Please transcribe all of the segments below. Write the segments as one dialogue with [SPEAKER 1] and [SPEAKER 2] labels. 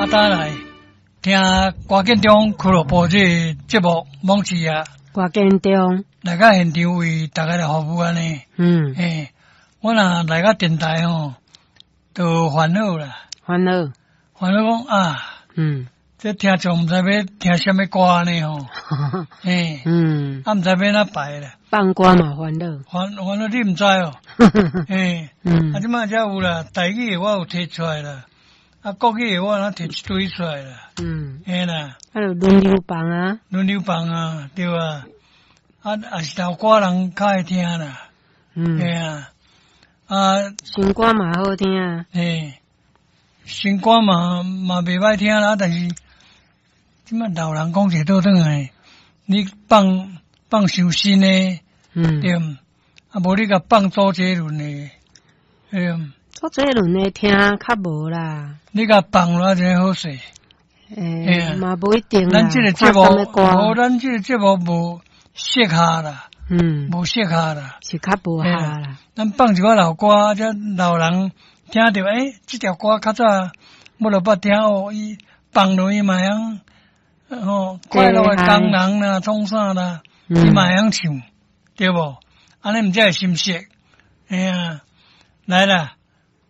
[SPEAKER 1] 啊，等來聽歌建中俱樂部這个節目網誌啊，
[SPEAKER 2] 歌建中，
[SPEAKER 1] 來到現場為大家來服務按呢。嘿，我若來到電台吼，就煩惱啦，
[SPEAKER 2] 煩惱，
[SPEAKER 1] 煩惱講啊，這聽眾毋知欲聽啥物歌按呢吼，嘿，啊，毋知欲按怎排啦，
[SPEAKER 2] 放歌嘛煩惱，
[SPEAKER 1] 煩惱你毋知哦，嘿，啊，這擺才有啦，台語的我有提出來啦，啊，國語的我若提一堆出來啦，嘿啦，
[SPEAKER 2] 啊，就輪流放啊，
[SPEAKER 1] 輪流放啊，對啊，啊，也是老歌人較愛聽啦，嘿啊，啊，
[SPEAKER 2] 新歌嘛好聽啊，
[SPEAKER 1] 嘿，新歌嘛袂歹聽啦，但是這擺老人講一倒轉來，你放放傷新的，對毋？啊，無你共放周杰倫的，對毋？
[SPEAKER 2] 周杰倫的聽較無啦，
[SPEAKER 1] 你共放落就好勢。
[SPEAKER 2] 欸，嘛無一定啦。
[SPEAKER 1] 咱這個節目，無咱這個節目無適合啦，無適合啦，
[SPEAKER 2] 是較無合啦。
[SPEAKER 1] 咱放一寡老歌，這老人聽著，欸，這條歌較早我都捌聽哦，伊放落伊嘛會曉，吼，快樂的工人啦，創啥啦，伊嘛會曉唱，對無？按呢毋才會心熟。嘿啊，來啦，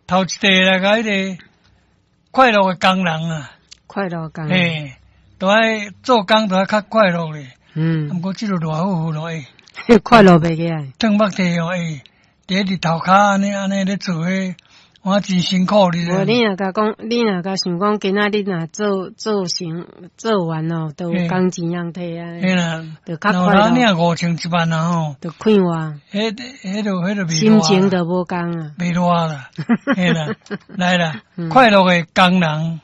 [SPEAKER 1] 頭一塊來共彼個快樂的工人啊，
[SPEAKER 2] 快樂工人，
[SPEAKER 1] 嘿，都愛做工都愛較快樂咧。毋過這個熱乎乎咯，欸，
[SPEAKER 2] 快樂袂起來，
[SPEAKER 1] 轉目地哦，欸，佇日頭跤按呢按呢咧做彼，我真辛苦你。
[SPEAKER 2] 無，你若共講，你若共想講，今仔日若做做成做完哦，都有工錢通提啊，
[SPEAKER 1] 嘿啦，
[SPEAKER 2] 就較快樂。
[SPEAKER 1] 你若5000一萬啊吼，
[SPEAKER 2] 就快活。
[SPEAKER 1] 彼就袂
[SPEAKER 2] 心情就無仝啊，
[SPEAKER 1] 袂熱啦，嘿啦，來啦，快樂的工人。